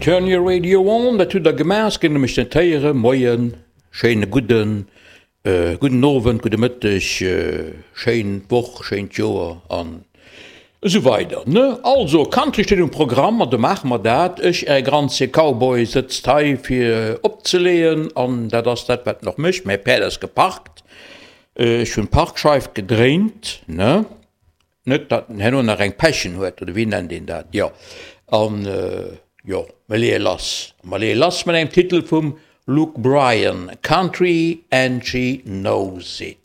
Turn your radio on, dat hutt der gemaach, ech géing nämlech net héieren. Moien, schéine gudden, gudden Owend, gudde Mëtteg, schéin Woch, schéint Joer an esou weider, ne? Also, Country steet um Programm an do maache mer dat. Ech, äre granzje Cowboy, sëtzt hei fir opzeleeën an dat ass dat, wat en och mécht. Mäi Päerd ass geparkt, ech hunn d'Parkscheif gedréint, ne? Net datt en herno nach eng Pechen huet, oder wéi nennt een dat? Jo, an jo, mer leeë lass. Mer leeë lass mat engem Titel vum Luke Bryan, Country and She Knows It.